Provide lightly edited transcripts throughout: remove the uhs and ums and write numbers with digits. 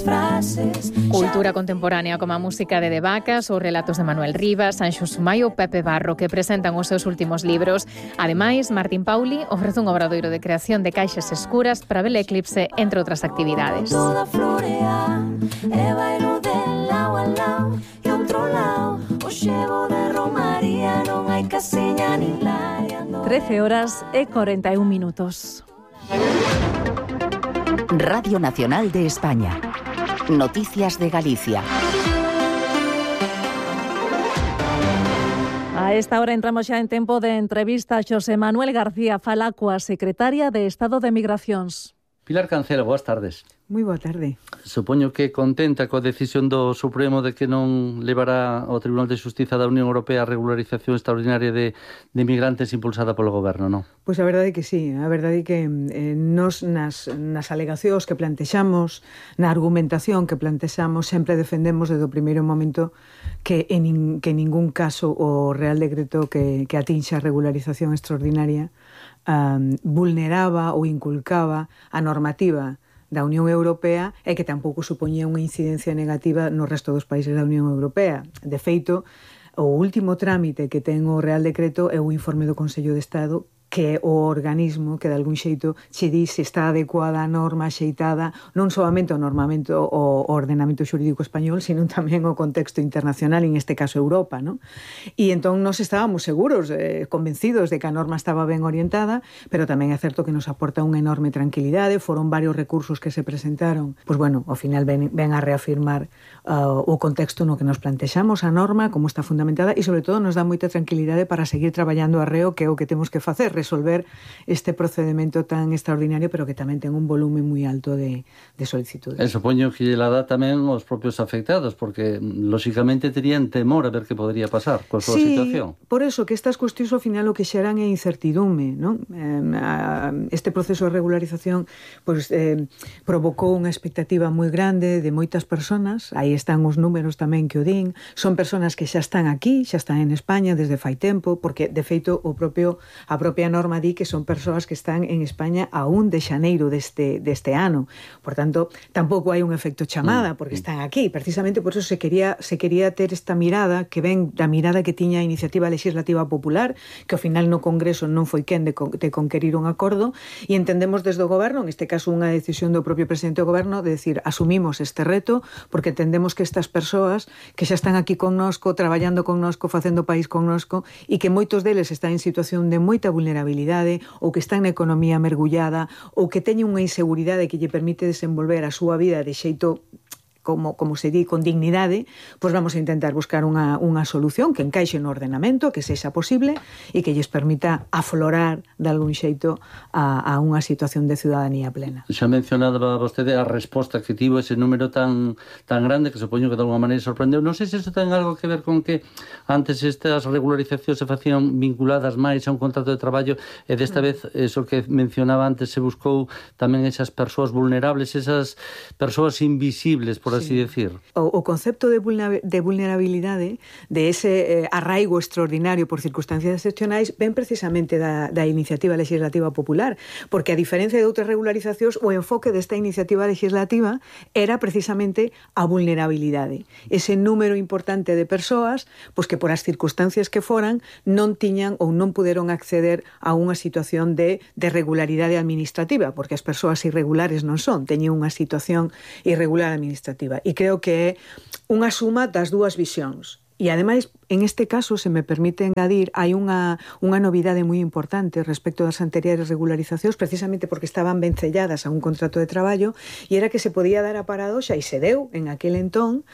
frases. Cultura contemporánea como a música de Vacas, os relatos de Manuel Rivas, Sanxo Sumaio ou Pepe Barro, que presentan os seus últimos libros. Ademais, Martín Pauli ofrece un obradoiro de creación de caixas escuras para ver eclipse, entre outras actividades. Toda florea, e bailo de lao a lao, e outro lao, o xevo de romaría, non hai casiña nin laia. 13:41. Radio Nacional de España. Noticias de Galicia. A esta hora entramos xa en tempo de entrevista. Xosé Manuel García fala coa secretaria de Estado de Migracións. Pilar Cancelo, boas tardes. Moi boa tarde. Supoño que contenta coa decisión do Supremo de que non levará ao Tribunal de Xustiza da Unión Europea a regularización extraordinaria de migrantes impulsada polo Goberno, non? Pois a verdade é que sí, a verdade é que nos nas alegacións que plantexamos, na argumentación que plantexamos, sempre defendemos desde o primeiro momento que en ningún caso o Real Decreto que atinxa a regularización extraordinaria vulneraba ou inculcaba a normativa da Unión Europea e que tampouco supoñía unha incidencia negativa no resto dos países da Unión Europea. De feito, o último trámite que ten o Real Decreto é o informe do Consello de Estado, que é o organismo que de algún xeito che di se está adecuada a norma xeitada non solamente ao normamento o ordenamento xurídico español, sino tamén o contexto internacional, en este caso Europa, ¿no? E entón nos estábamos seguros, convencidos de que a norma estaba ben orientada, pero tamén é certo que nos aporta unha enorme tranquilidade. Foron varios recursos que se presentaron, pois bueno, ao final ven a reafirmar o contexto no que nos plantexamos, a norma, como está fundamentada, e sobre todo nos dá moita tranquilidade para seguir traballando arreo, que é o que temos que facer, resolver este procedimento tan extraordinario, pero que tamén ten un volume moi alto de solicitudes. Supoño que la dá tamén os propios afectados, porque lóxicamente terían temor a ver que podría pasar coa súa situación. Por eso que estas cuestións ao final o que xeran é incertidume, non? Este proceso de regularización provocou unha expectativa moi grande de moitas persoas. Aí están os números tamén que o din. Son persoas que xa están aquí, xa están en España desde fai tempo, porque de feito a propia norma di que son persoas que están en España a 1 de xaneiro deste ano. Por tanto, tampouco hai un efecto chamada porque están aquí. Precisamente por eso se quería ter esta mirada que ven da mirada que tiña a Iniciativa Legislativa Popular, que ao final no Congreso non foi quen de conquerir un acordo, e entendemos desde o Goberno, en este caso unha decisión do propio presidente do Goberno, de decir, asumimos este reto porque entendemos que estas persoas que xa están aquí connosco, traballando connosco, facendo país connosco, e que moitos deles están en situación de moita vulnerabilidade ou que están na economía mergullada ou que teñen unha inseguridade que lle permite desenvolver a súa vida de xeito como se di, con dignidade, pois vamos a intentar buscar unha solución que encaixe no ordenamento, que sexa posible e que lles permita aflorar de algún xeito a unha situación de ciudadanía plena. Xa mencionaba vostede a resposta que tivo ese número tan grande que supoño que de alguma maneira sorprendeu. Non sei se iso ten algo que ver con que antes estas regularizacións se facían vinculadas máis a un contrato de traballo e desta vez, eso que mencionaba antes, se buscou tamén esas persoas vulnerables, esas persoas invisibles, por así decir. O concepto de vulnerabilidade, de ese arraigo extraordinario por circunstancias excepcionais, ven precisamente da Iniciativa Legislativa Popular, porque a diferencia de outras regularizacións, o enfoque desta iniciativa legislativa era precisamente a vulnerabilidade. Ese número importante de persoas, pois que por as circunstancias que foran, non tiñan ou non puderon acceder a unha situación de regularidade administrativa, porque as persoas irregulares non son, teñen unha situación irregular administrativa. E creo que é unha suma das dúas visións. E ademais, en este caso, se me permite engadir, hai unha novidade moi importante respecto das anteriores regularizacións, precisamente porque estaban vencelladas a un contrato de traballo, e era que se podía dar a paradoxa, e se deu en aquel entón,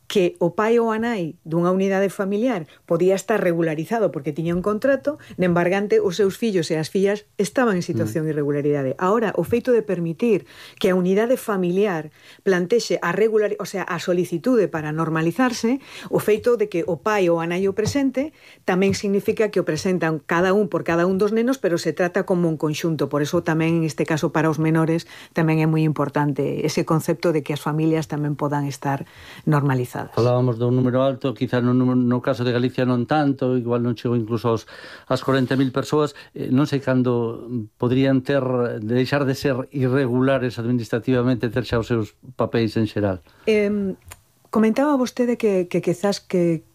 que o pai ou a nai dunha unidade familiar podía estar regularizado porque tiña un contrato, de embargante os seus fillos e as fillas estaban en situación de irregularidade. Ahora, o feito de permitir que a unidade familiar plantexe a solicitude para normalizarse, o feito de que o pai ou a nai o presente, tamén significa que o presentan cada un por cada un dos nenos, pero se trata como un conxunto. Por eso tamén, en este caso, para os menores, tamén é moi importante ese concepto de que as familias tamén podan estar normalizadas. realizadas. Falábamos dun número alto, quizá no caso de Galicia non tanto, igual non chegou incluso as 40.000 persoas. Non sei cando podrían deixar de ser irregulares administrativamente, ter xa os seus papéis en xeral. Comentaba vostede que quizás que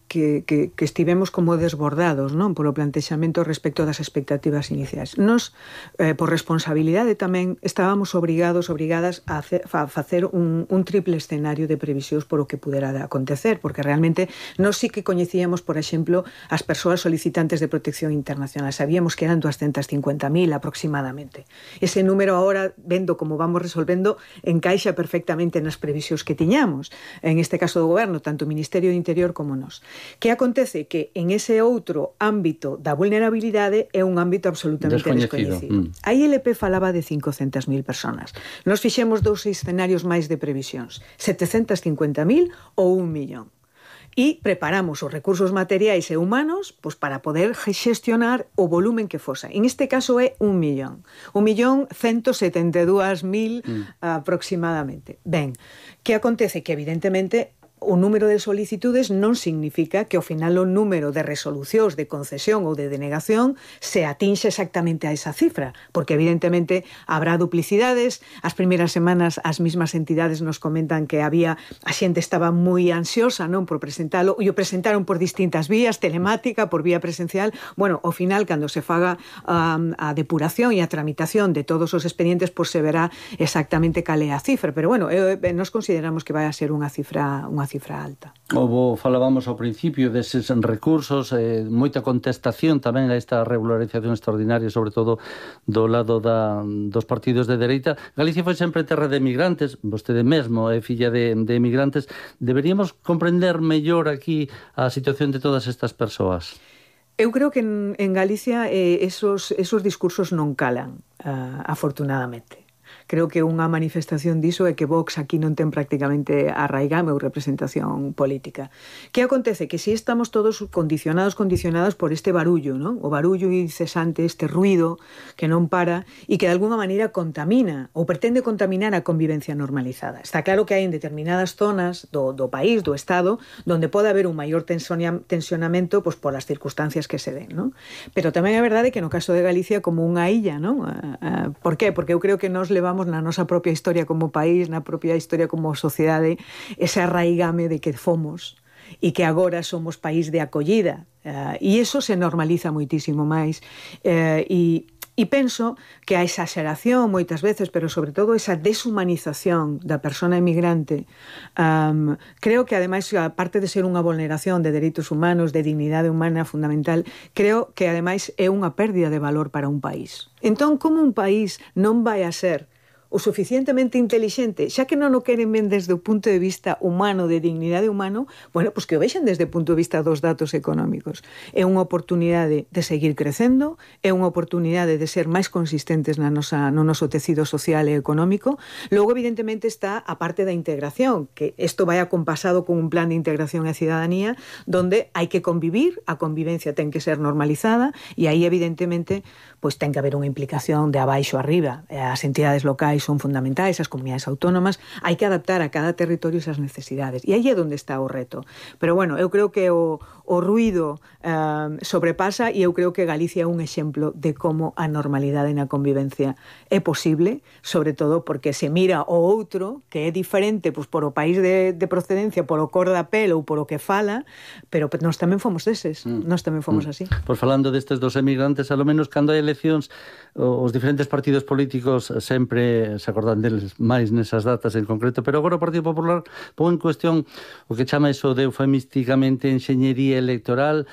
estivemos como desbordados, non, polo plantexamento respecto das expectativas iniciais. Nos, por responsabilidade tamén, estábamos obrigadas a facer un triple escenario de previsións por o que pudera acontecer, porque realmente nos sí que coñecíamos, por exemplo, as persoas solicitantes de protección internacional. Sabíamos que eran 250.000 aproximadamente. Ese número agora, vendo como vamos resolvendo, encaixa perfectamente nas previsións que tiñamos. En este caso do Goberno, tanto o Ministerio do Interior como nós. Que acontece que en ese outro ámbito da vulnerabilidade é un ámbito absolutamente descoñecido. A ILP falaba de 500.000 personas. Nos fixemos dous escenarios máis de previsións, 750.000 ou 1 millón. E preparamos os recursos materiais e humanos para poder xestionar o volumen que fosa. En este caso é 1 millón. 1.172.000 aproximadamente. Ben, que acontece? Que evidentemente o número de solicitudes non significa que ao final o número de resolucións de concesión ou de denegación se atinxe exactamente a esa cifra, porque evidentemente habrá duplicidades. As primeiras semanas as mismas entidades nos comentan que a xente estaba moi ansiosa, non, por presentalo, e o presentaron por distintas vías, telemática, por vía presencial. Bueno, ao final, cando se faga a depuración e a tramitación de todos os expedientes, se verá exactamente cal é a cifra, pero bueno, nos consideramos que vai a ser unha cifra alta. Falábamos ao principio deses recursos, moita contestación tamén a esta regularización extraordinaria, sobre todo do lado dos partidos de dereita. Galicia foi sempre terra de emigrantes, vostede mesmo é filla de emigrantes. Deberíamos comprender mellor aquí a situación de todas estas persoas. Eu creo que en Galicia esos discursos non calan, afortunadamente. Creo que unha manifestación diso é que Vox aquí non ten prácticamente arraigame ou representación política. Que acontece? Que si estamos todos condicionados por este barullo, non? O barullo incesante, este ruido que non para e que de alguna maneira contamina ou pretende contaminar a convivencia normalizada. Está claro que hai en determinadas zonas do país, do Estado, donde pode haber un maior tensionamento polas circunstancias que se den, non? Pero tamén é verdade que no caso de Galicia como unha illa, non? Por qué? Porque eu creo que nos levamos na nosa propia historia como país, na propia historia como sociedade, ese arraigame de que fomos e que agora somos país de acollida. E iso se normaliza moitísimo máis. E penso que a exageración moitas veces, pero sobre todo esa deshumanización da persona emigrante, creo que ademais, aparte de ser unha vulneración de dereitos humanos, de dignidade humana fundamental, creo que ademais é unha pérdida de valor para un país. Entón, como un país non vai a ser o suficientemente intelixente, xa que non o queren ben desde o punto de vista humano, de dignidade humano, bueno, pois que o vexen desde o punto de vista dos datos económicos. É unha oportunidade de seguir crecendo, é unha oportunidade de ser máis consistentes no noso tecido social e económico. Logo, evidentemente, está a parte da integración, que isto vai acompasado con un plan de integración e cidadanía, donde hai que convivir, a convivencia ten que ser normalizada, e aí, evidentemente, pois ten que haber unha implicación de abaixo a arriba. As entidades locais son fundamentais, as comunidades autónomas, hai que adaptar a cada territorio esas necesidades. E aí é onde está o reto. Pero, bueno, eu creo que o ruido sobrepasa e eu creo que Galicia é un exemplo de como a normalidade na convivencia é posible, sobre todo porque se mira o outro, que é diferente por o país de procedencia, por o cor da pel ou por o que fala, pero nós tamén fomos deses, nós tamén fomos así. Pois falando destes dos emigrantes, a lo menos cando hai eleccións, os diferentes partidos políticos sempre se acordan deles máis nesas datas en concreto, pero agora o Partido Popular pon en cuestión o que chama iso de eufemísticamente enxeñería electoral,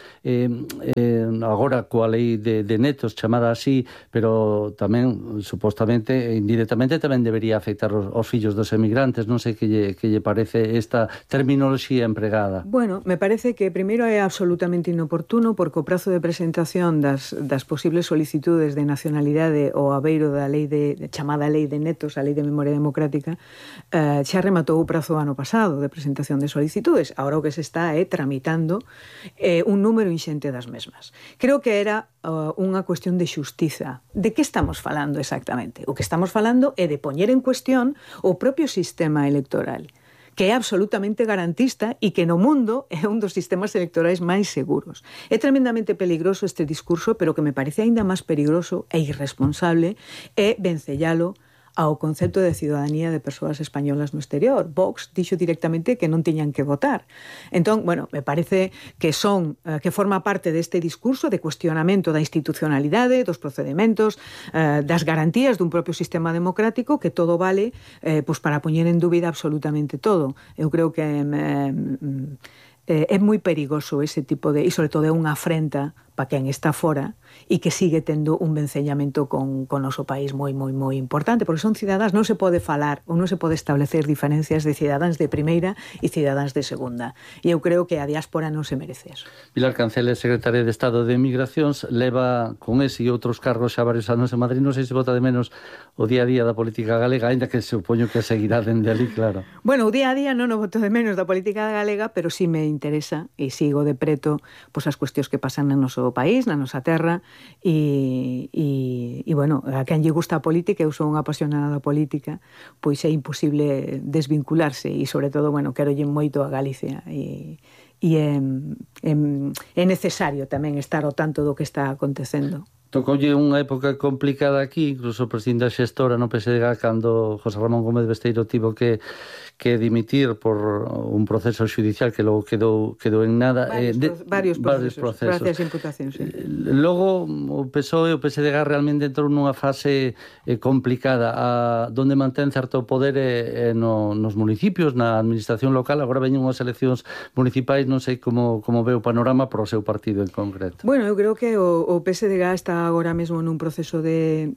agora coa lei de netos chamada así, pero tamén supostamente, indirectamente tamén debería afectar os fillos dos emigrantes. Non sei que lle parece esta terminoloxía empregada. Bueno, me parece que primeiro é absolutamente inoportuno porque o prazo de presentación das posibles solicitudes de nacionalidade ou abeiro da lei chamada lei de netos, a lei de memoria democrática, xa rematou o prazo ano pasado de presentación de solicitudes. Agora o que se está tramitando un número inxente das mesmas. Creo que era unha cuestión de xustiza. De que estamos falando exactamente? O que estamos falando é de poñer en cuestión o propio sistema electoral, que é absolutamente garantista e que no mundo é un dos sistemas electorais máis seguros. É tremendamente peligroso este discurso, pero o que me parece aínda máis peligroso e irresponsable é vencellalo ao concepto de ciudadanía de persoas españolas no exterior. Vox dixo directamente que non tiñan que votar. Entón, bueno, me parece que que forma parte deste discurso de cuestionamento da institucionalidade, dos procedementos, das garantías dun propio sistema democrático, que todo vale pois para poñer en dúbida absolutamente todo. Eu creo que é moi perigoso ese tipo de... e sobre todo é unha afrenta para quen está fora e que sigue tendo un vencellamento con o noso país moi importante, porque son cidadáns, non se pode falar ou non se pode establecer diferencias de cidadáns de primeira e cidadáns de segunda. E eu creo que a diáspora non se merece eso. Pilar Cancela, secretaria de Estado de Migracións, leva con ese e outros cargos xa varios anos en Madrid. Non sei se bota de menos o día a día da política galega, ainda que supoño que seguirá dende ali, claro. Bueno, o día a día non o boto de menos da política galega, pero sí me interesa e sigo de preto pois as cuestións que pasan no noso país, na nosa terra, e bueno, a quen lle gusta a política, eu sou unha apasionada da política, pois é imposible desvincularse e, sobre todo, bueno, quero lle moito a Galicia e é necesario tamén estar ao tanto do que está acontecendo. Tocoulle unha época complicada aquí, incluso o presidente da xestora no PSDG, cando José Ramón Gómez Besteiro tivo que dimitir por un proceso judicial que logo quedou en nada. Varios procesos. Varias imputacións, sí. Logo o PSOE e o PSDG realmente entrou nunha fase complicada, donde mantén certo poder nos municipios, na administración local. Agora veñen unhas eleccións municipais, non sei como ve o panorama por o seu partido en concreto. Bueno, eu creo que o PSDG está agora mesmo nun proceso de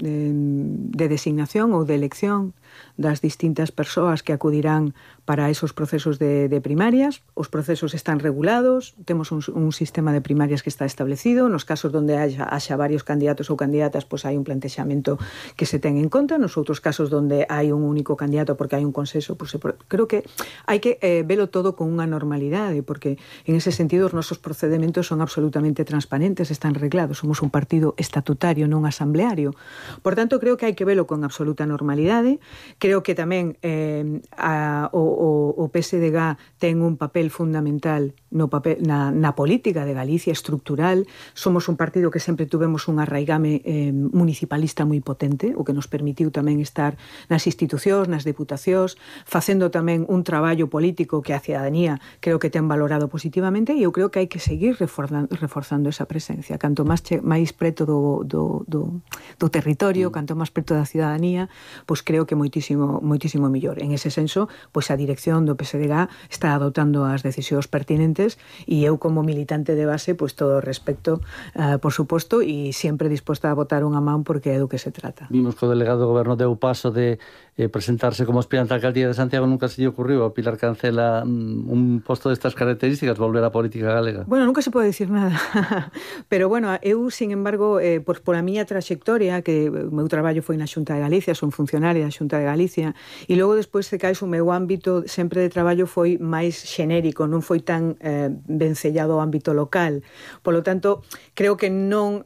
designación ou de elección das distintas persoas que acudirán para esos procesos de primarias. Os procesos están regulados, temos un sistema de primarias que está establecido. Nos casos donde haxa varios candidatos ou candidatas, pois hai un plantexamento que se ten en conta. Nos outros casos donde hai un único candidato porque hai un consenso, pois creo que hai que velo todo con unha normalidade, porque en ese sentido os nosos procedementos son absolutamente transparentes, están reglados. Somos un partido estatutario, non asambleario. Por tanto, creo que hai que velo con absoluta normalidade. Creo que tamén o PSDG ten un papel fundamental na política de Galicia, estructural. Somos un partido que sempre tuvemos un arraigame municipalista moi potente, o que nos permitiu tamén estar nas institucións, nas deputacións, facendo tamén un traballo político que a cidadanía creo que ten valorado positivamente, e eu creo que hai que seguir reforzando esa presencia. Canto máis preto do territorio, canto máis preto da cidadanía, pois creo que moitísimo mellor. En ese senso, pois a dirección do PSDG está adoptando as decisións pertinentes, e eu como militante de base, pois todo o respecto, por suposto, e sempre disposta a botar unha man porque é do que se trata. Vimos que o delegado do goberno deu paso de presentarse como aspirante á alcaldía de Santiago. Nunca se lle ocurriu a Pilar Cancela un posto destas características, volver á política galega? Bueno, nunca se pode dicir nada. Pero, bueno, eu, sin embargo, por a miña trayectoria, que o meu traballo foi na Xunta de Galicia, son funcionaria da Xunta de Galicia, e logo despois de caes o meu ámbito sempre de traballo foi máis xenérico, non foi tan vencellado ao ámbito local. Por lo tanto, creo que non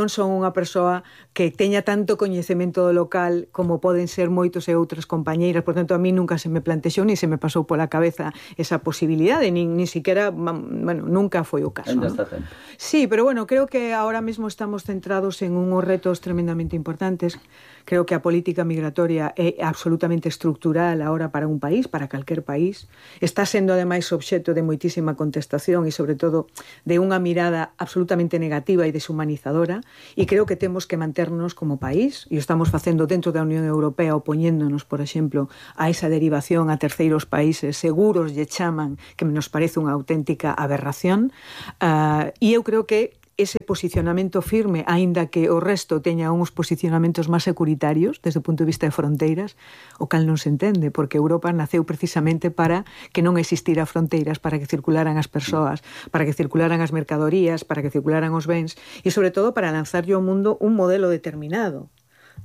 son unha persoa que teña tanto coñecemento do local como poden ser moitos e outras compañeiras. Por tanto, a mí nunca se me plantexou ni se me pasou pola cabeza esa posibilidade, nin siquiera, bueno, nunca foi o caso. Ainda está tempo. Sí, pero bueno, creo que ahora mismo estamos centrados en unhos retos tremendamente importantes. Creo que a política migratoria é absolutamente estructural ahora para un país, para calquer país. Está sendo, ademais, obxecto de moitísima contestación e, sobre todo, de unha mirada absolutamente negativa e deshumanizadora, e creo que temos que manternos como país, e o estamos facendo dentro da Unión Europea, opoñéndonos, por exemplo, a esa derivación a terceiros países seguros, lle chaman, que nos parece unha auténtica aberración, e eu creo que ese posicionamento firme, aínda que o resto teña uns posicionamentos máis securitarios desde o punto de vista de fronteiras, o cal non se entende, porque Europa naceu precisamente para que non existira fronteiras, para que circularan as persoas, para que circularan as mercadorías, para que circularan os bens, e sobre todo para lanzarlle ao mundo un modelo determinado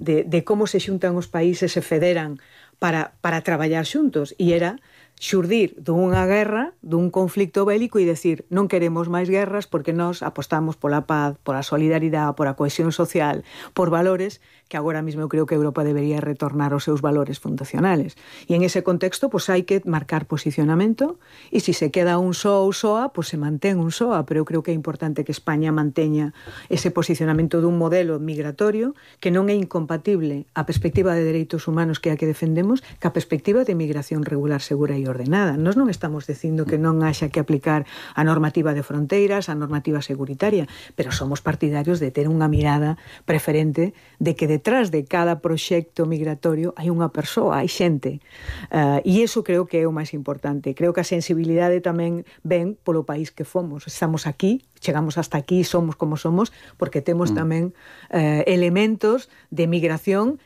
de como se xuntan os países, se federan para traballar xuntos, e era xurdir dunha guerra, dun conflicto bélico e decir non queremos máis guerras porque nós apostamos pola paz, pola solidaridade, pola cohesión social, por valores que agora mesmo eu creo que Europa debería retornar aos seus valores fundacionales. E en ese contexto, pois hai que marcar posicionamento e se se queda un só ou soa, pois se mantén un soa, pero eu creo que é importante que España manteña ese posicionamento dun modelo migratorio que non é incompatible a perspectiva de dereitos humanos que é a que defendemos ca perspectiva de migración regular, segura e ordenada. Nós non estamos dicindo que non haxa que aplicar a normativa de fronteiras, a normativa seguritaria, pero somos partidarios de ter unha mirada preferente de que detrás de cada proxecto migratorio hai unha persoa, hai xente. E iso creo que é o máis importante. Creo que a sensibilidade tamén ven polo país que fomos. Estamos aquí, chegamos hasta aquí, somos como somos, porque temos tamén elementos de migración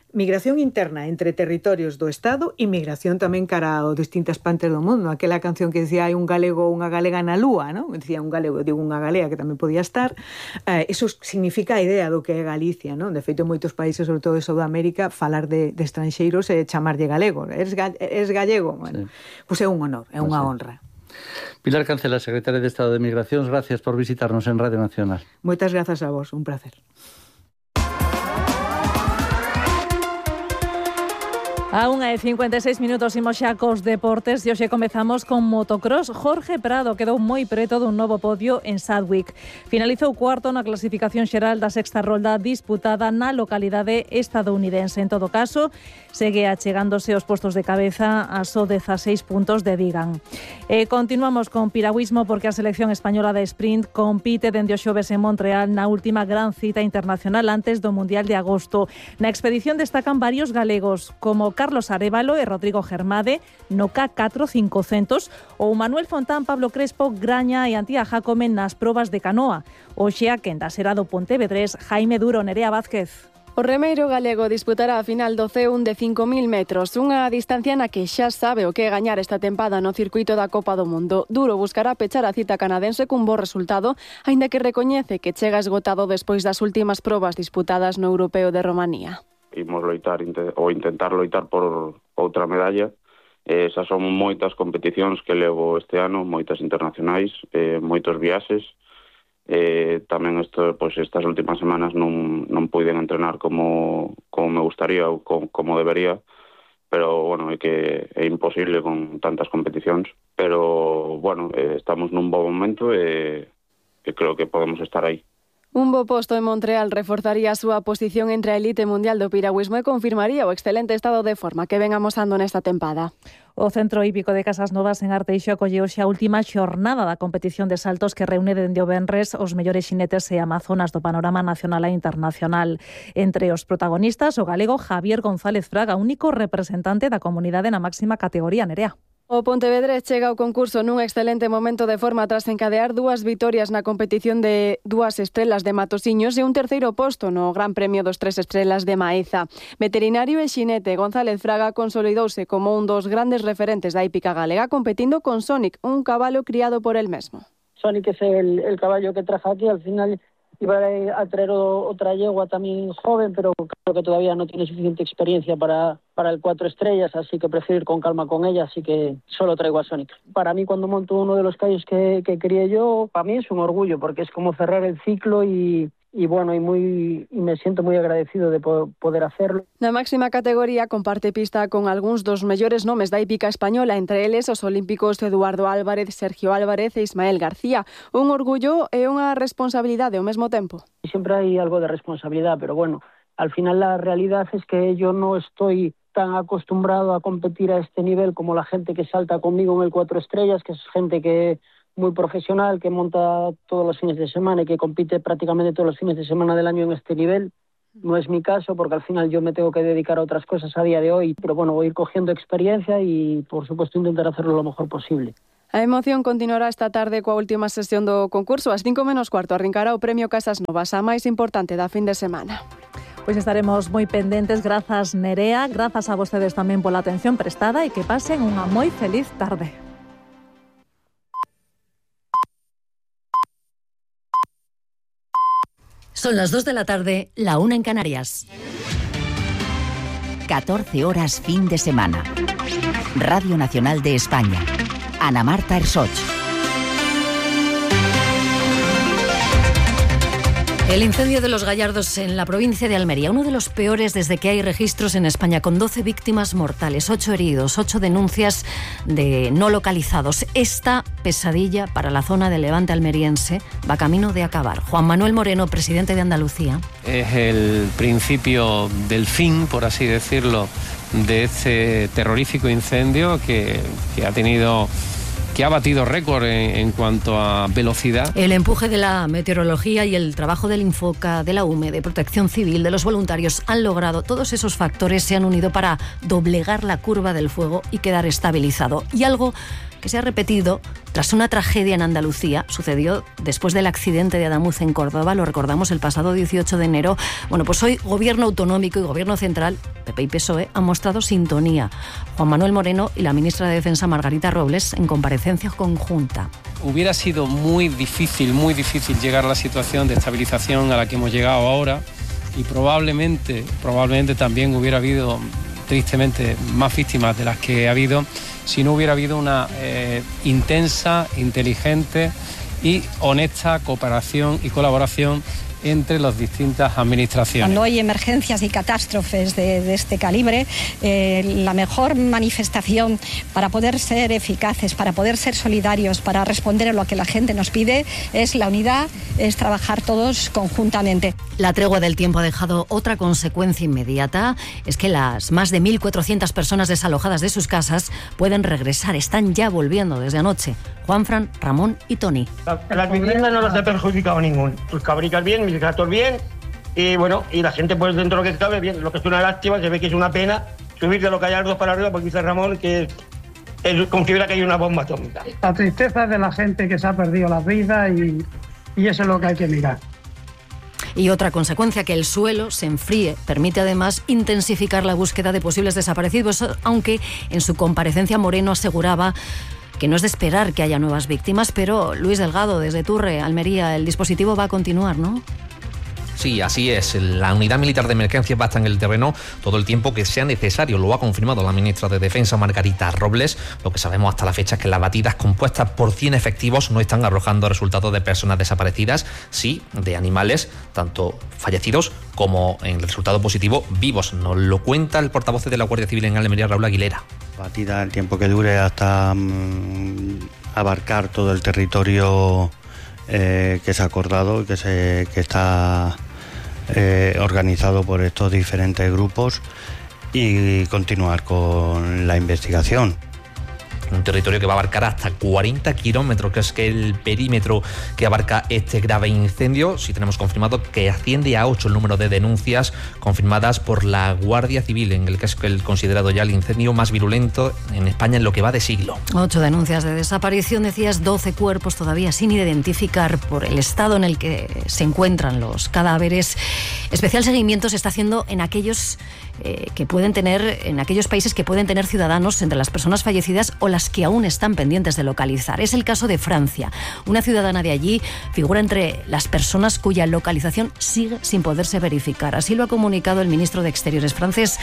interna entre territorios do Estado e migración tamén cara a distintas partes do mundo. Aquela canción que decía hai un galego ou unha galega na lúa, non? Decía un galego, digo unha galega que tamén podía estar. Eso significa a idea do que é Galicia, non? De feito, en moitos países, sobre todo de Sudamérica, falar de estranxeiros e chamarlle galego. Eres gallego? Bueno, sí. Pois é un honor, é unha honra. Pilar Cancela, secretaria de Estado de Migracións, gracias por visitarnos en Radio Nacional. Moitas grazas a vos, un placer. A 1:56 imos xa cos deportes e hoxe comezamos con motocross. Jorge Prado quedou moi preto dun novo podio en Sadwick. Finalizou cuarto na clasificación xeral da sexta rolda disputada na localidade estadounidense. En todo caso, segue achegándose os postos de cabeza a só 16 puntos de Vigan. Continuamos con piragüismo porque a selección española de sprint compite dende o xoves en Montreal na última gran cita internacional antes do Mundial de agosto. Na expedición destacan varios galegos como Carlos Arévalo e Rodrigo Germade no K4 500 ou Manuel Fontán, Pablo Crespo, Graña e Antía Jacome nas probas de canoa. Hoxe a quenda será do Pontevedrés, Jaime Duro, Nerea Vázquez. O remeiro galego disputará a final do C1 de 5.000 metros, unha distancia na que xa sabe o que é gañar esta tempada no circuito da Copa do Mundo. Duro buscará pechar a cita canadense cun bo resultado, aínda que recoñece que chega esgotado despois das últimas probas disputadas no Europeo de Romanía. Imos loitar ou intentar loitar por outra medalla. Esas son moitas competicións que levo este ano, moitas internacionais, moitos viaxes. Tamén estas últimas semanas non puiden entrenar como me gustaría ou como debería, pero bueno, é que é imposible con tantas competicións, pero bueno, estamos nun bo momento e creo que podemos estar aí. Un bo posto en Montreal reforzaría a súa posición entre a elite mundial do piragüismo e confirmaría o excelente estado de forma que ven amosando nesta tempada. O Centro Hípico de Casas Novas en Arteixo acolleu xa a última xornada da competición de saltos que reúne dende o venres os mellores xinetes e amazonas do panorama nacional e internacional. Entre os protagonistas, o galego Javier González Fraga, único representante da comunidade na máxima categoría, Nerea. O Pontevedrés chega ao concurso nun excelente momento de forma tras encadear 2 vitorias na competición de 2 estrelas de Matosiños e un terceiro posto no Gran Premio dos 3 estrelas de Maeza. Veterinario e xinete González Fraga consolidouse como un dos grandes referentes da hípica galega competindo con Sonic, un cabalo criado por el mesmo. Sonic es el caballo que trajo aquí, al final iba a traer otra yegua también joven, pero creo que todavía no tiene suficiente experiencia para el 4 estrellas, así que prefiero ir con calma con ella, así que solo traigo a Sonic. Para mí, cuando monto uno de los caballos que crié yo, para mí es un orgullo, porque es como cerrar el ciclo y bueno, y me siento muy agradecido de poder hacerlo. Na máxima categoría comparte pista con algúns dos mellores nomes da hípica española, entre eles os olímpicos Eduardo Álvarez, Sergio Álvarez e Ismael García. Un orgullo e unha responsabilidade ao mesmo tempo. Siempre hay algo de responsabilidad, pero bueno, al final la realidad es que yo no estoy tan acostumbrado a competir a este nivel como la gente que salta conmigo en el 4 estrellas, que es gente que muy profesional, que monta todos los fines de semana y que compite prácticamente todos los fines de semana del año en este nivel. No es mi caso, porque al final yo me tengo que dedicar a otras cosas a día de hoy, pero bueno, voy a ir cogiendo experiencia y por supuesto intentar hacerlo lo mejor posible. A emoción continuará esta tarde coa última sesión do concurso. Ás 5:15 arrincará o Premio Casas Novas, a máis importante da fin de semana. Pois estaremos moi pendentes. Grazas, Nerea, grazas a vostedes tamén pola atención prestada e que pasen unha moi feliz tarde. Son las 2 de la tarde, la 1 en Canarias. 14 horas fin de semana. Radio Nacional de España. Ana Marta Ersoch. El incendio de Los Gallardos en la provincia de Almería, uno de los peores desde que hay registros en España, con 12 víctimas mortales, 8 heridos, 8 denuncias de no localizados. Esta pesadilla para la zona del Levante almeriense va camino de acabar. Juan Manuel Moreno, presidente de Andalucía. Es el principio del fin, por así decirlo, de este terrorífico incendio que ha batido récord en cuanto a velocidad. El empuje de la meteorología y el trabajo del Infoca, de la UME, de Protección Civil, de los voluntarios, han logrado, todos esos factores se han unido para doblegar la curva del fuego y quedar estabilizado. Y algo que se ha repetido tras una tragedia en Andalucía, sucedió después del accidente de Adamuz en Córdoba, lo recordamos el pasado 18 de enero. Bueno, pues hoy Gobierno Autonómico y Gobierno Central, PP y PSOE, han mostrado sintonía. Juan Manuel Moreno y la ministra de Defensa, Margarita Robles, en comparecencia conjunta. Hubiera sido muy difícil llegar a la situación de estabilización a la que hemos llegado ahora, y probablemente también hubiera habido, tristemente, más víctimas de las que ha habido si no hubiera habido una intensa, inteligente y honesta cooperación y colaboración entre las distintas administraciones. Cuando hay emergencias y catástrofes de este calibre, la mejor manifestación para poder ser eficaces, para poder ser solidarios, para responder a lo que la gente nos pide, es la unidad, es trabajar todos conjuntamente. La tregua del tiempo ha dejado otra consecuencia inmediata, es que las más de 1.400 personas desalojadas de sus casas pueden regresar, están ya volviendo desde anoche. Juanfran, Ramón y Tony. Las viviendas no las ha perjudicado ningún. Tus cabricas bien, mis gatos bien, y bueno, y la gente pues dentro de lo que cabe bien. Lo que es una lástima, se ve que es una pena subir de Los Gallardos para arriba, porque dice Ramón que él considera que hay una bomba atómica. La tristeza de la gente que se ha perdido la vida y eso es lo que hay que mirar. Y otra consecuencia, que el suelo se enfríe, permite además intensificar la búsqueda de posibles desaparecidos, aunque en su comparecencia Moreno aseguraba que no es de esperar que haya nuevas víctimas, pero Luis Delgado, desde Turre, Almería, el dispositivo va a continuar, ¿no? Sí, así es. La unidad militar de emergencia va a estar en el terreno todo el tiempo que sea necesario. Lo ha confirmado la ministra de Defensa, Margarita Robles. Lo que sabemos hasta la fecha es que las batidas compuestas por 100 efectivos no están arrojando resultados de personas desaparecidas, sí de animales, tanto fallecidos como, en el resultado positivo, vivos. Nos lo cuenta el portavoz de la Guardia Civil en Almería, Raúl Aguilera. Batida el tiempo que dure hasta abarcar todo el territorio que se ha acordado, que está organizado por estos diferentes grupos, y continuar con la investigación. Un territorio que va a abarcar hasta 40 kilómetros, que es el perímetro que abarca este grave incendio. Sí tenemos confirmado que asciende a 8 el número de denuncias confirmadas por la Guardia Civil, en el que es el considerado ya el incendio más virulento en España en lo que va de siglo. 8 denuncias de desaparición, decías, 12 cuerpos todavía sin identificar por el estado en el que se encuentran los cadáveres. Especial seguimiento se está haciendo en aquellos en aquellos países que pueden tener ciudadanos entre las personas fallecidas o las que aún están pendientes de localizar. Es el caso de Francia. Una ciudadana de allí figura entre las personas cuya localización sigue sin poderse verificar. Así lo ha comunicado el ministro de Exteriores francés,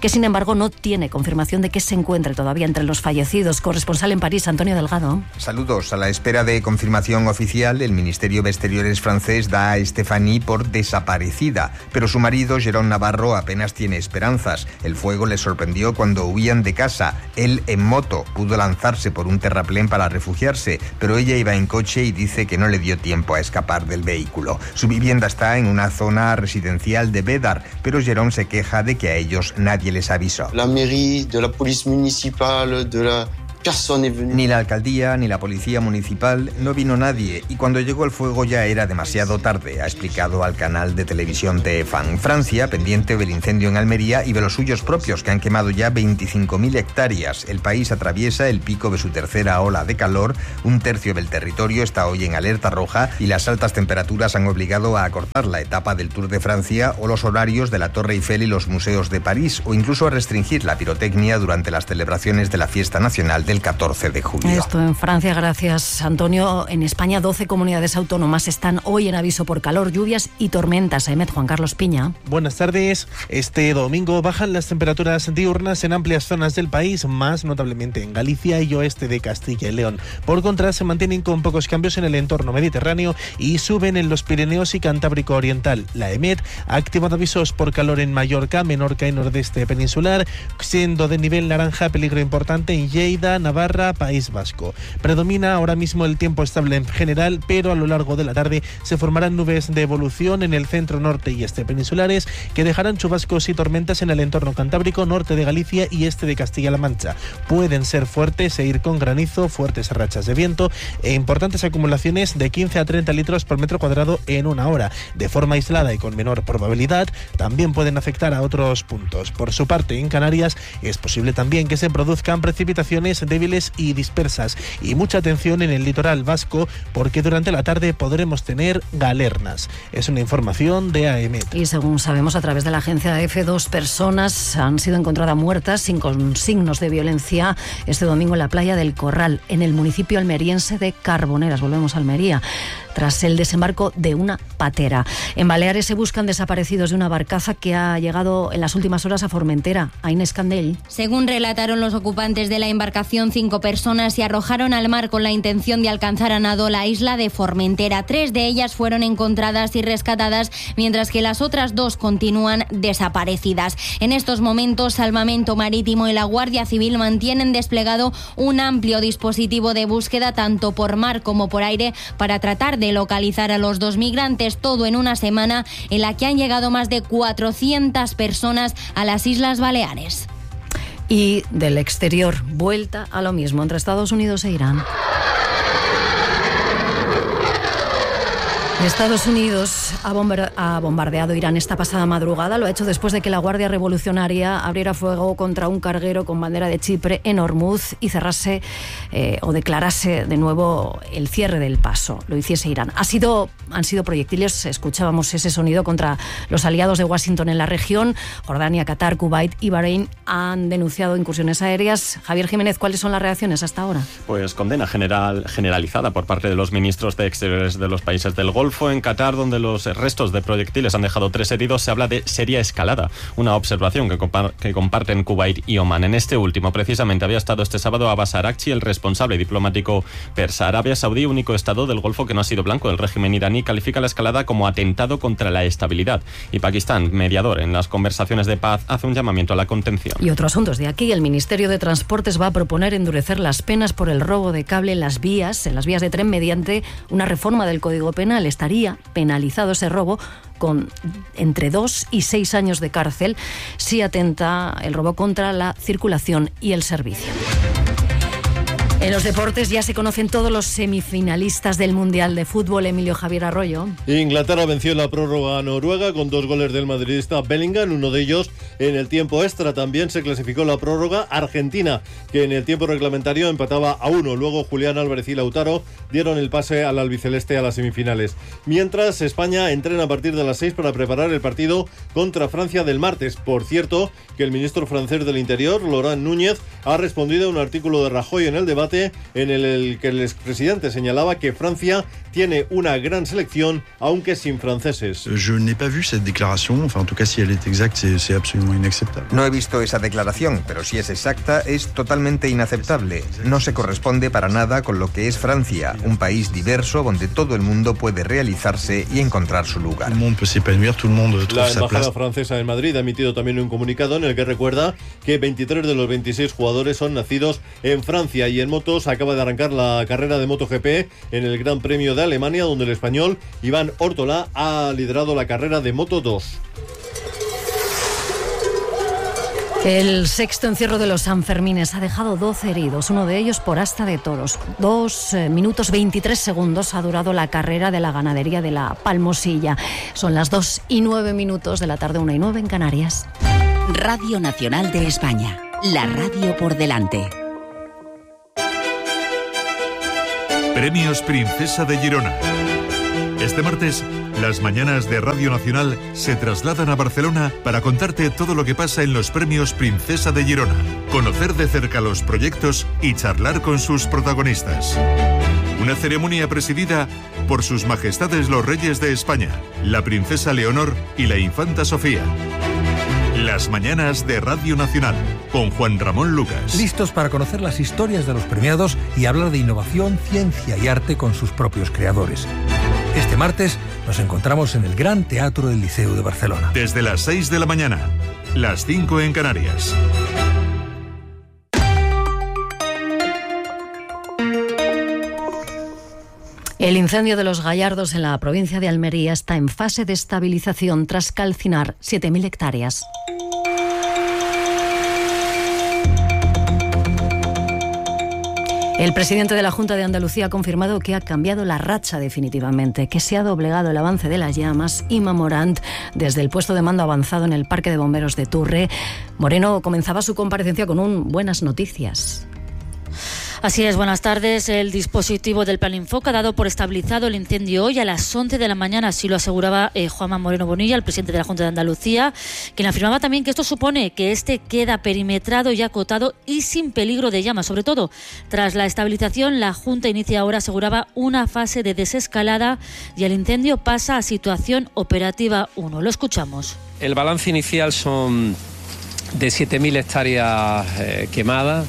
que sin embargo no tiene confirmación de que se encuentre todavía entre los fallecidos. Corresponsal en París, Antonio Delgado. Saludos. A la espera de confirmación oficial, el Ministerio de Exteriores francés da a Stéphanie por desaparecida, pero su marido, Jérôme Navarro, apenas tiene esperanzas. El fuego le sorprendió cuando huían de casa. Él, en moto, pudo lanzarse por un terraplén para refugiarse, pero ella iba en coche y dice que no le dio tiempo a escapar del vehículo. Su vivienda está en una zona residencial de Bédar, pero Jérôme se queja de que a ellos nadie les avisó. La mairie, de la policía municipal, de la... Ni la alcaldía ni la policía municipal, no vino nadie, y cuando llegó el fuego ya era demasiado tarde, ha explicado al canal de televisión TF1. Francia, pendiente del incendio en Almería y de los suyos propios, que han quemado ya 25.000 hectáreas. El país atraviesa el pico de su tercera ola de calor. Un tercio del territorio está hoy en alerta roja y las altas temperaturas han obligado a acortar la etapa del Tour de Francia o los horarios de la Torre Eiffel y los museos de París, o incluso a restringir la pirotecnia durante las celebraciones de la Fiesta Nacional del el 14 de julio. Esto en Francia, gracias Antonio. En España 12 comunidades autónomas están hoy en aviso por calor, lluvias y tormentas. Ahmed, Juan Carlos Piña. Buenas tardes. Este domingo bajan las temperaturas diurnas en amplias zonas del país, más notablemente en Galicia y oeste de Castilla y León. Por contra, se mantienen con pocos cambios en el entorno mediterráneo y suben en los Pirineos y Cantábrico Oriental. La EMET ha activado avisos por calor en Mallorca, Menorca y nordeste peninsular, siendo de nivel naranja peligro importante en Lleida, Navarra, País Vasco. Predomina ahora mismo el tiempo estable en general, pero a lo largo de la tarde se formarán nubes de evolución en el centro, norte y este peninsulares que dejarán chubascos y tormentas en el entorno cantábrico, norte de Galicia y este de Castilla-La Mancha. Pueden ser fuertes e ir con granizo, fuertes rachas de viento e importantes acumulaciones de 15 a 30 litros por metro cuadrado en una hora. De forma aislada y con menor probabilidad, también pueden afectar a otros puntos. Por su parte, en Canarias es posible también que se produzcan precipitaciones débiles y dispersas. Y mucha atención en el litoral vasco, porque durante la tarde podremos tener galernas. Es una información de AEMET. Y según sabemos a través de la agencia EFE, 2 personas han sido encontradas muertas sin signos de violencia este domingo en la playa del Corral, en el municipio almeriense de Carboneras. Volvemos a Almería, tras el desembarco de una patera. En Baleares se buscan desaparecidos de una barcaza que ha llegado en las últimas horas a Formentera. A Inés Candel. Según relataron los ocupantes de la embarcación, 5 personas se arrojaron al mar con la intención de alcanzar a nado la isla de Formentera. 3 de ellas fueron encontradas y rescatadas, mientras que las otras 2 continúan desaparecidas. En estos momentos, Salvamento Marítimo y la Guardia Civil mantienen desplegado un amplio dispositivo de búsqueda tanto por mar como por aire para tratar de localizar a los 2 migrantes, todo en una semana en la que han llegado más de 400 personas a las Islas Baleares. Y del exterior, vuelta a lo mismo entre Estados Unidos e Irán. Estados Unidos ha bombardeado Irán esta pasada madrugada. Lo ha hecho después de que la Guardia Revolucionaria abriera fuego contra un carguero con bandera de Chipre en Hormuz y cerrase o declarase de nuevo el cierre del paso. Lo hiciese Irán. Han sido proyectiles, escuchábamos ese sonido, contra los aliados de Washington en la región. Jordania, Qatar, Kuwait y Bahrein han denunciado incursiones aéreas. Javier Jiménez, ¿cuáles son las reacciones hasta ahora? Pues condena generalizada por parte de los ministros de Exteriores de los países del Golfo. En Qatar, donde los restos de proyectiles han dejado 3 heridos, se habla de seria escalada, una observación que comparten Kuwait y Omán. En este último, precisamente, había estado este sábado Abbas Araghchi, el responsable diplomático persa. Arabia Saudí, único estado del Golfo que no ha sido blanco del régimen iraní, califica la escalada como atentado contra la estabilidad. Y Pakistán, mediador en las conversaciones de paz, hace un llamamiento a la contención. Y otro asunto de aquí, el Ministerio de Transportes va a proponer endurecer las penas por el robo de cable en las vías de tren mediante una reforma del Código Penal. Estaría penalizado ese robo con entre 2 y 6 años de cárcel si atenta el robo contra la circulación y el servicio. En los deportes ya se conocen todos los semifinalistas del Mundial de Fútbol. Emilio Javier Arroyo. Inglaterra venció en la prórroga a Noruega con 2 goles del madridista Bellingham, uno de ellos en el tiempo extra. También se clasificó la prórroga Argentina, que en el tiempo reglamentario empataba a 1. Luego Julián Álvarez y Lautaro dieron el pase al albiceleste a las semifinales. Mientras, España entrena a partir de las 6 para preparar el partido contra Francia del martes. Por cierto, que el ministro francés del Interior, Laurent Núñez, ha respondido a un artículo de Rajoy en El Debate en el que el expresidente señalaba que Francia tiene una gran selección, aunque sin franceses. Je n'ai pas vu cette déclaration, enfin en tout cas si elle est exacte, c'est absolument inacceptable. No he visto esa declaración, pero si es exacta, es totalmente inaceptable. No se corresponde para nada con lo que es Francia, un país diverso donde todo el mundo puede realizarse y encontrar su lugar. La embajada francesa en Madrid ha emitido también un comunicado en el que recuerda que 23 de los 26 jugadores son nacidos en Francia. Y en motos acaba de arrancar la carrera de MotoGP en el Gran Premio de Alemania, donde el español Iván Órtola ha liderado la carrera de Moto2. El sexto encierro de los Sanfermines ha dejado 12 heridos, uno de ellos por asta de toros. 2 minutos 23 segundos ha durado la carrera de la ganadería de la Palmosilla. Son las 2 y 9 minutos de la tarde, 1 y 9 en Canarias. Radio Nacional de España, la radio por delante. Premios Princesa de Girona. Este martes, las mañanas de Radio Nacional se trasladan a Barcelona para contarte todo lo que pasa en los premios Princesa de Girona, conocer de cerca los proyectos y charlar con sus protagonistas. Una ceremonia presidida por sus majestades los reyes de España, la princesa Leonor y la infanta Sofía. Las mañanas de Radio Nacional, con Juan Ramón Lucas. Listos para conocer las historias de los premiados y hablar de innovación, ciencia y arte con sus propios creadores. Este martes nos encontramos en el Gran Teatro del Liceu de Barcelona. Desde las 6 de la mañana, las 5 en Canarias. El incendio de los Gallardos en la provincia de Almería está en fase de estabilización tras calcinar 7.000 hectáreas. El presidente de la Junta de Andalucía ha confirmado que ha cambiado la racha definitivamente, que se ha doblegado el avance de las llamas. Inma Morant, desde el puesto de mando avanzado en el Parque de Bomberos de Turre. Moreno comenzaba su comparecencia con buenas noticias. Así es, buenas tardes. El dispositivo del Plan Infoca ha dado por estabilizado el incendio hoy a las 11 de la mañana, así lo aseguraba Juanma Moreno Bonilla, el presidente de la Junta de Andalucía, quien afirmaba también que esto supone que este queda perimetrado y acotado y sin peligro de llamas. Sobre todo, tras la estabilización, la Junta inicia ahora, aseguraba, una fase de desescalada y el incendio pasa a situación operativa 1. Lo escuchamos. El balance inicial son de 7.000 hectáreas quemadas,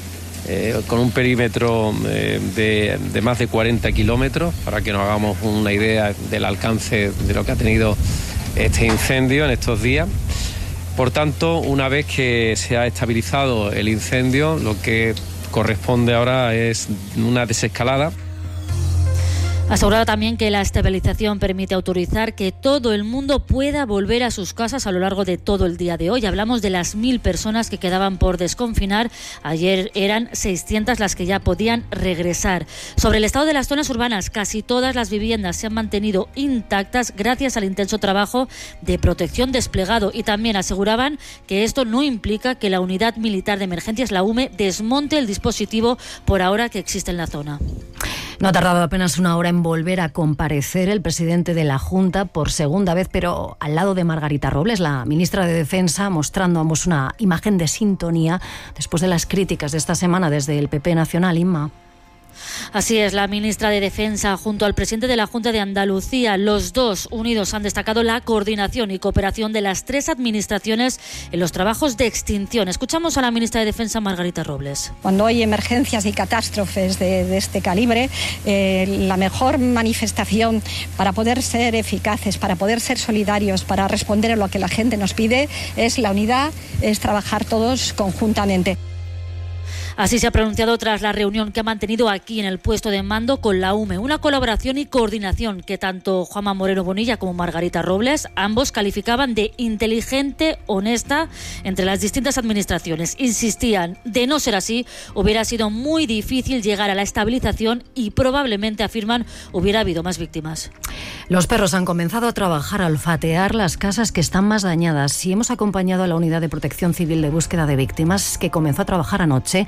con un perímetro de más de 40 kilómetros, para que nos hagamos una idea del alcance de lo que ha tenido este incendio en estos días. Por tanto, una vez que se ha estabilizado el incendio, lo que corresponde ahora es una desescalada. Aseguraba también que la estabilización permite autorizar que todo el mundo pueda volver a sus casas a lo largo de todo el día de hoy. Hablamos de las 1.000 personas que quedaban por desconfinar. Ayer eran 600 las que ya podían regresar. Sobre el estado de las zonas urbanas, casi todas las viviendas se han mantenido intactas gracias al intenso trabajo de protección desplegado, y también aseguraban que esto no implica que la Unidad Militar de Emergencias, la UME, desmonte el dispositivo por ahora que existe en la zona. No ha tardado apenas una hora en volver a comparecer el presidente de la Junta por segunda vez, pero al lado de Margarita Robles, la ministra de Defensa, mostrando ambos una imagen de sintonía después de las críticas de esta semana desde el PP nacional. Inma. Así es, la ministra de Defensa junto al presidente de la Junta de Andalucía, los dos unidos han destacado la coordinación y cooperación de las tres administraciones en los trabajos de extinción. Escuchamos a la ministra de Defensa, Margarita Robles. Cuando hay emergencias y catástrofes de este calibre, la mejor manifestación para poder ser eficaces, para poder ser solidarios, para responder a lo que la gente nos pide, es la unidad, es trabajar todos conjuntamente. Así se ha pronunciado tras la reunión que ha mantenido aquí en el puesto de mando con la UME. Una colaboración y coordinación que tanto Juanma Moreno Bonilla como Margarita Robles, ambos calificaban de inteligente, honesta entre las distintas administraciones. Insistían, de no ser así, hubiera sido muy difícil llegar a la estabilización y probablemente, afirman, hubiera habido más víctimas. Los perros han comenzado a trabajar, a olfatear las casas que están más dañadas, y hemos acompañado a la Unidad de Protección Civil de Búsqueda de Víctimas, que comenzó a trabajar anoche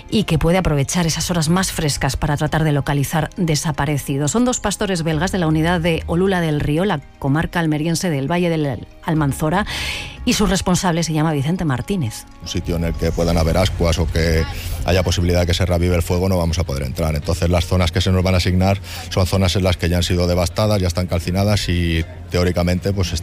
y que puede aprovechar esas horas más frescas para tratar de localizar desaparecidos. Son dos pastores belgas de la unidad de Olula del Río, la comarca almeriense del Valle del Almanzora, y su responsable se llama Vicente Martínez. Un sitio en el que puedan haber ascuas o que haya posibilidad de que se reavive el fuego, no vamos a poder entrar. Entonces las zonas que se nos van a asignar son zonas en las que ya han sido devastadas, ya están calcinadas y teóricamente pues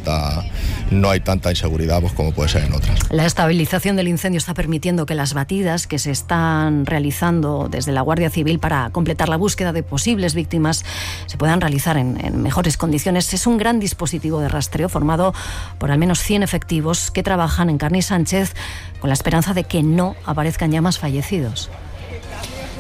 no hay tanta inseguridad pues, como puede ser en otras. La estabilización del incendio está permitiendo que las batidas que se están realizando desde la Guardia Civil para completar la búsqueda de posibles víctimas se puedan realizar en mejores condiciones. Es un gran dispositivo de rastreo formado por al menos 100 efectivos que trabajan en Carni Sánchez con la esperanza de que no aparezcan ya más fallecidos.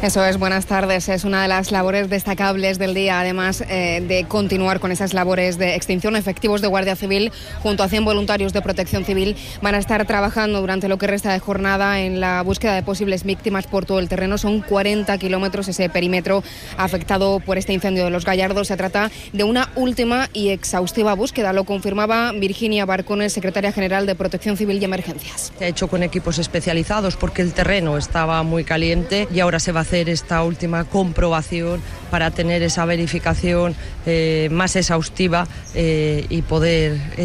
Eso es, buenas tardes. Es una de las labores destacables del día, además de continuar con esas labores de extinción. Efectivos de Guardia Civil junto a 100 voluntarios de Protección Civil van a estar trabajando durante lo que resta de jornada en la búsqueda de posibles víctimas por todo el terreno. Son 40 kilómetros ese perímetro afectado por este incendio de los Gallardos. Se trata de una última y exhaustiva búsqueda. Lo confirmaba Virginia Barcones, secretaria general de Protección Civil y Emergencias. Se ha hecho con equipos especializados porque el terreno estaba muy caliente y ahora se va a hacer hacer esta última comprobación para tener esa verificación más exhaustiva y poder